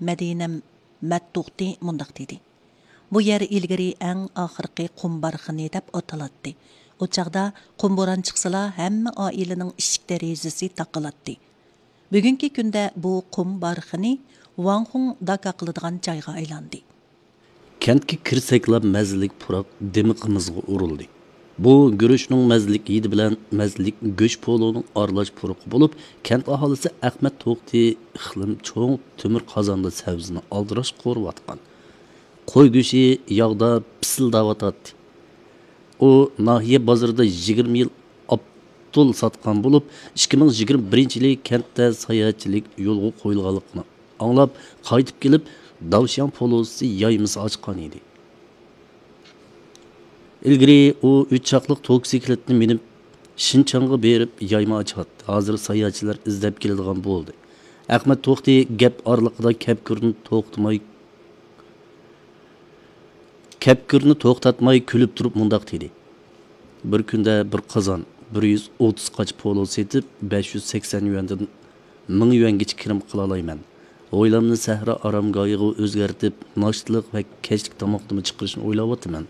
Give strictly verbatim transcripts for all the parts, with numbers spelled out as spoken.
مەدىنەم مەتتۇختى مۇنداق دېدى: بۇ يەر ئىلگىرى ئەڭ ئاخىرقى قۇم بارخىنى دەپ ئاتىلاتتى. ئۇ چاغدا قۇم بوران چىقسىلا، ھەممە ئائىلىنىڭ ئىشىك دېرىزىسى تاقىلاتتى. بۈگۈنكى كۈندە بۇ قۇم بارخىنى ۋاڭخۇڭ داكا قىلىدىغان جايغا ئايلاندى. كەنتكە كىرسەكلا مەززىلىك پۇراق دىمىقىمىزغا ئۇرۇلدى. بۇ گۈرۈچنىڭ مەززىلىك ھىدى بىلەن مەززىلىك گۆش پولۇنىڭ ئارىلاش پۇرىقى بولۇپ، كەنت ئاھالىسى ئەخمەت توختى ئىقلىم چوڭ تۆمۈر قازاندا سەۋزىنى ئالدىراش قورۇۋاتقان. قوي گۆشى ياغدا پىسىلداۋاتاتتى. ئۇ ناھىيە بازىرىدا يىگىرمە يىل ئاپتول ساتقان بولۇپ، ئىككى مىڭ يىگىرمە بىرىنچى يىلى كەنتتە ساياھەتچىلىك يولغا قويۇلغانلىقىنى ئاڭلاپ، قايتىپ كېلىپ، داۋشياڭ پولۇسى يايمىسى ئاچقان ئىدى. ئىلگىرى ئۇ ئۈچ چاقلىق توكسىكلىتنى مىنىپ، شىنچاڭغا بېرىپ يايما ئاچاتتى. ھازىر ساياھەتچىلەر ئىزدەپ كېلىدىغان بولدى. ئەخمەت توختى گەپ ئارىلىقىدا كەپكۈرنى توختىماي، كەپكۈرنى توختاتماي كۈلۈپ تۇرۇپ مۇنداق دېدى: بىر كۈندە بىر قازان بىر يۈز ئوتتۇز قاچا پولۇ سېتىپ، بەش يۈز سەكسەن يۈەندىن مىڭ يۈەنگىچە كىرىم قىلالايمەن. ھويلامنى سەھرا ئارامگاھىغا ئۆزگەرتىپ، ناشتىلىق ۋە كەچلىك تاماقنىمۇ چىقىرىشنى ئويلاۋاتىمەن.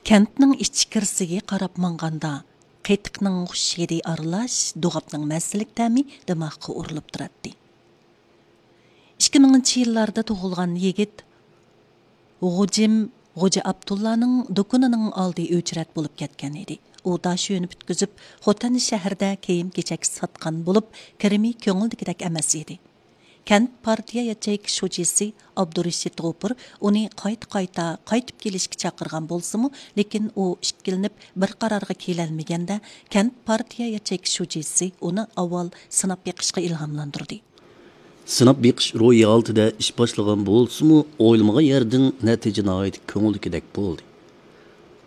كەنتنىڭ ئىچكىرىسىگە قاراپ ماڭغاندا، قېتىقنىڭ خۇش ھىدى ئارىلاش دوغاپنىڭ مەززىلىك تەمى دىماغقا ئۇرۇلۇپ تۇراتتى. ئىككى مىڭىنچى يىللاردا تۇغۇلغان يىگىت غۇجىم غوجا ئابدۇللانىڭ دۇكىنىنىڭ ئالدى ئۆچرەت بولۇپ كەتكەن ئىدى. ئۇ داشۆنى پۈتكۈزۈپ، خوتەن شەھىرىدە كىيىم-كېچەك ساتقان بولۇپ، كىرىمى كۆڭۈلدىكىدەك ئەمەس ئىدى. كەنت پارتىيە ياچېيكا شۇجىسى ئابدۇرېشىت غوپۇر ئۇنى قايتا-قايتا قايتىپ كېلىشكە چاقىرغان بولسىمۇ، لېكىن ئۇ ئىككىلىنىپ بىر قارارغا كېلەلمىگەندە، كەنت پارتىيە ياچېيكا شۇجىسى ئۇنى ئاۋۋال سىناپ بېقىشقا ئىلھاملاندۇردى. سىناپ بېقىش روھى ھالىتىدە ئىش باشلىغان بولسىمۇ، ئويلىمىغان يەردىن نەتىجە ناھايىتى كۆڭۈلدىكىدەك بولدى.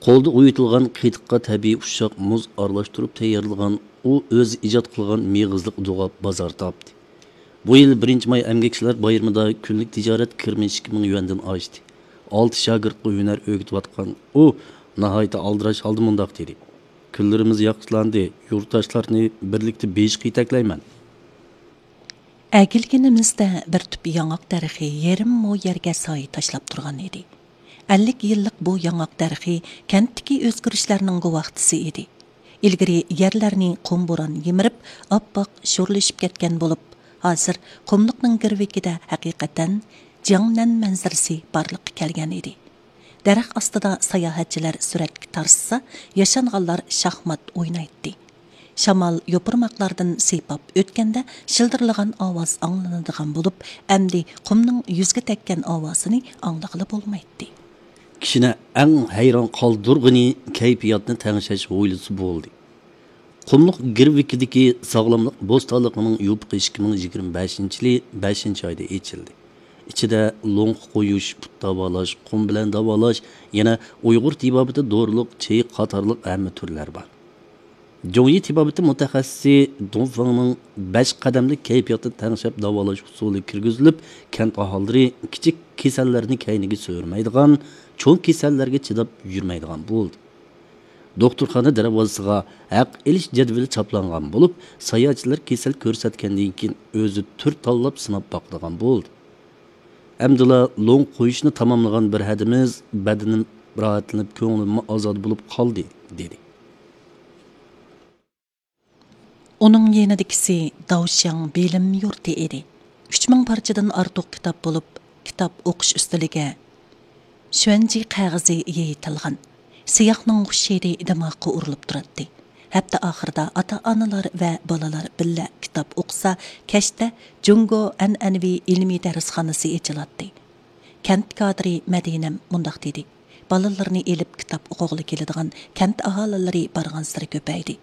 قولدا ئۇيۇتۇلغان قېتىققا تەبىئىي ئۇششاق مۇز ئارىلاشتۇرۇپ تەييارلىغان ئۇ ئۆزى ئىجاد قىلغان مېغىزلىق دوغاپ بازار تاپتى. بۇ يىل بىرىنچى ماي ئەمگەكچىلەر بايرىمىدا كۈنلۈك تىجارەت كىرىمى ئىككى مىڭ يۈەندىن ئاشتى. ئالتە شاگىرتقا ھۈنەر ئۆگىتىۋاتقان ئۇ ناھايىتى ئالدىراش ھالدا مۇنداق دېدى: كۈنلىرىمىز ياخشىلاندى، يۇرتداشلارنى بىرلىكتە بېيىشقا يېتەكلەيمەن. ئەگىلگىنىمىزدە بىر تۈپ ياڭاق دەرىخى يېرىم مو يەرگە سايە تاشلاپ تۇرغان ئىدى. ئەللىك يىللىق بۇ ياڭاق دەرىخى كەنتتىكى ئۆزگىرىشلەرنىڭ گۇۋاھچىسى ئىدى. ئىلگىرى يەرلەرنى قۇم بوران يېمىرىپ، ئاپئاق شورلىشىپ كەتكەن بولۇپ، ھازىر قۇملۇقنىڭ گىرۋىكىدە ھەقىقەتەن جياڭنەن مەنزىرىسى بارلىققا كەلگەن ئىدى. دەرەخ ئاستىدا ساياھەتچىلەر سۈرەتكە تارتسا، ياشانغانلار شاھمات ئوينايتتى. شامال يوپۇرماقلاردىن سىيپاپ ئۆتكەندە شىلدىرلىغان ئاۋاز ئاڭلىنىدىغان بولۇپ، ئەمدى قۇمنىڭ يۈزگە تەگكەن ئاۋازىنى ئاڭلىغىلى بولمايتتى. كىشىنى ئەڭ ھەيران قالدۇرغىنى كەيپىياتنى تەڭشەش ھويلىسى بولدى. قۇملۇق گىرۋىكىدىكى ساغلاملىق بوستانلىقىنىڭ يوپۇقى ئىككى مىڭ يىگىرمە بەشىنچى يىلى بەشىنچى ئايدا ئېچىلدى. ئىچىدە لوڭقا قويۇش، پۇت داۋالاش، قۇم بىلەن داۋالاش، يەنە ئۇيغۇر تېبابىتى دورىلىق چېيى قاتارلىق ھەممە تۈرلەر بار. جۇڭيى تېبابىتى مۇتەخەسسىسى دۇڭفېڭنىڭ بەش قەدەملىك كەيپىياتنى تەڭشەپ داۋالاش ئۇسۇلى كىرگۈزۈلۈپ، كەنت ئاھالىلىرى كىچىك كېسەللەرنى كەينىگە سۆرىمەيدىغان، چوڭ كېسەللەرگە چىداپ يۈرمەيدىغان بولدى. دوختۇرخانا دەرۋازىسىغا ھەق ئېلىش جەدۋىلى چاپلانغان بولۇپ، ساياھەتچىلەر كېسەل كۆرسەتكەندىن كېيىن ئۆزى تۈر تاللاپ سىناپ باقىدىغان بولدى. ئەمدىلا لوڭ قويۇشنى تاماملىغان بىر ھەدىمىز بەدىنىم راھەتلىنىپ، كۆڭلۈممۇ ئازادە بولۇپ قالدى، دېدى. ئۇنىڭ يېنىدىكىسى داۋشياڭ بىلىم يۇرتى ئىدى. ئۈچ مىڭ پارچىدىن ئارتۇق كىتاب بولۇپ، كىتاب ئوقۇش ئۈستىلىگە شۈەنجى قەغىزى يېيىتىلغان. سىياھنىڭ خۇش ھىدى دىماغقا ئۇرۇلۇپ تۇراتتى. ھەپتە ئاخىرىدا ئاتا-ئانىلار ۋە بالىلار بىللە كىتاب ئوقۇسا، كەچتە جۇڭگو ئەنئەنىۋى ئىلمىي دەرسخانىسى ئېچىلاتتى. كەنت كادىرى مەدىنەم مۇنداق دېدى: بالىلىرىنى ئېلىپ كىتاب ئوقۇغىلى كېلىدىغان كەنت ئاھالىلىرى بارغانسېرى كۆپەيدى.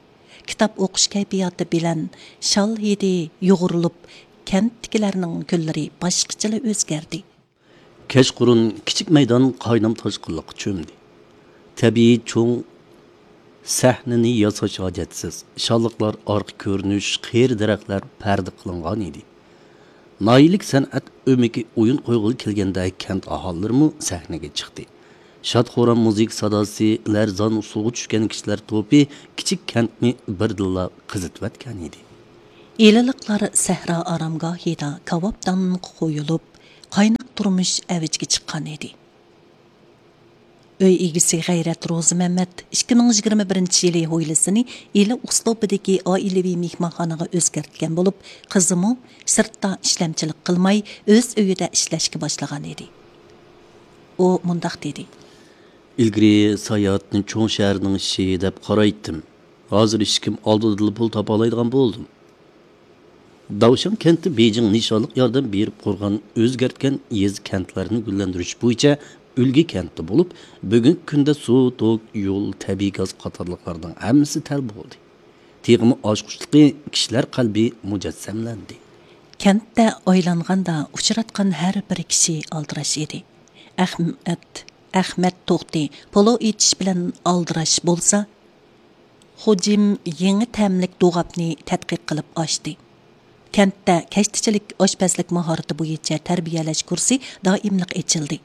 كىتاب ئوقۇش كەيپىياتى بىلەن شال ھىدى يۇغۇرۇلۇپ، كەنتتىكىلەرنىڭ كۈنلىرى باشقىچىلا ئۆزگەردى. كەچقۇرۇن كىچىك مەيدان قاينام تاشقىنلىققا چۆمدى. تەبىئىي چوڭ سەھنىنى ياساش ھاجەتسىز. شاللىقلار ئارقا كۆرۈنۈش، قېرى دەرەخلەر پەردە قىلىنغان ئىدى. ناھىيەلىك سەنئەت ئۆمىكى ئويۇن قويغىلى كەلگەندە، كەنت ئاھالىلىرىمۇ سەھنىگە چىقتى. شاد-خۇرام مۇزىكا ساداسى، لەرزان ئۇسسۇلغا چۈشكەن كىشىلەر توپى كىچىك كەنتنى بىردىنلا قىزىتىۋەتكەن ئىدى. ئىلىلىقلار سەھرا ئارامگاھىدا كاۋاپتانغا قويۇلۇپ، قايناق تۇرمۇش ئەۋجىگە چىققان ئىدى. ئۆي ئىگىسى غەيرەت روزىمەممەت ئىككى مىڭ يىگىرمە بىرىنچى يىلى ھويلىسىنى ئىلى ئۇسلۇبىدىكى ئائىلىۋى مېھمانخانىغا ئۆزگەرتكەن بولۇپ، قىزىمۇ سىرتتا ئىشلەمچىلىك قىلماي، ئۆز ئۆيىدە ئىشلەشكە باشلىغان ئىدى. ئۇ مۇنداق دېدى. ئىلگىرى ساياھەتنى چوڭ شەھەرنىڭ ئىشى دەپ قارايتتىم. ھازىر ئىشىكىم ئالدىدىلا پۇل تاپالايدىغان بولدۇم. داۋشاڭ كەنتى بېيجىڭ نىشانلىق ياردەم بېرىپ قۇرغان، ئۆزگەرتكەن يېزا كەنتلەرنى گۈللەندۈرۈش بويىچە ئۈلگە كەنتى بولۇپ، بۈگۈنكى كۈندە سۇ، توك، يول، تەبىئىي گاز قاتارلىقلارنىڭ ھەممىسى تەل بولدى. تېخىمۇ ئاچقۇچلۇقى، كىشىلەر قەلبى مۇجەسسەملەندى. كەنتتە ئايلانغاندا ئۇچراتقان ھەر بىر كىشى ئالدىراش ئىدى. ئەخمەت، ئەخمەت توختى پولو ئېتىش بىلەن ئالدىراش بولسا، خوجىم يېڭى تەملىك دوغاپنى تەتقىق قىلىپ ئاچتى. كەنتتە كەشتىچىلىك ئاشپەزلىك ماھارىتى بويىچە تەربىيەلەش كۇرسى دائىملىق ئېچىلدى.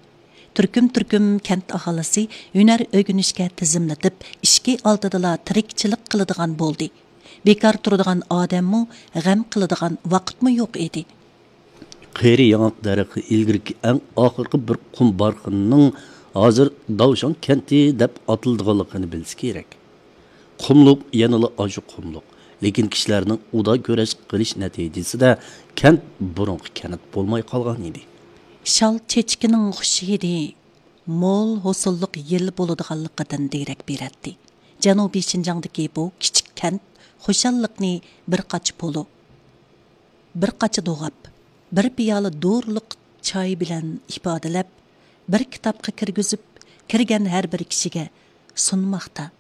تۈركۈم-تۈركۈم كەنت ئاھالىسى ھۈنەر ئۆگىنىشكە تىزىملىتىپ، ئىشىكى ئالدىدىلا تىرىكچىلىك قىلىدىغان بولدى. بىكار تۇرىدىغان ئادەممۇ، غەم قىلىدىغان ۋاقىتمۇ يوق ئىدى. قېرى ياڭاق دەرىخى ئىلگىرىكى ئەڭ ئاخىرقى بىر قۇم بارخىننىڭ ھازىر داۋشاڭ كەنتى دەپ ئاتىلىدىغانلىقىنى بىلسە كېرەك. قۇملۇق يەنىلا ئاشۇ قۇملۇق. لېكىن كىشىلەرنىڭ ئۇدا كۈرەش قىلىش نەتىجىسىدە كەنت بۇرۇنقى كەنت بولماي قالغان ئىدى. شال چېچىكىنىڭ خۇش ھىدى مول ھوسۇللۇق يىل بولىدىغانلىقىدىن دېرەك بېرەتتى. جەنۇبىي شىنجاڭدىكى بۇ كىچىك كەنت خۇشاللىقنى بىر قاچا پولۇ، بىر قاچا دوغاپ، بىر پىيالە دورىلىق چاي بىلەن ئىپادىلەپ، بىر كىتابقا كىرگۈزۈپ، كىرگەن ھەر بىر كىشىگە سۇنماقتا.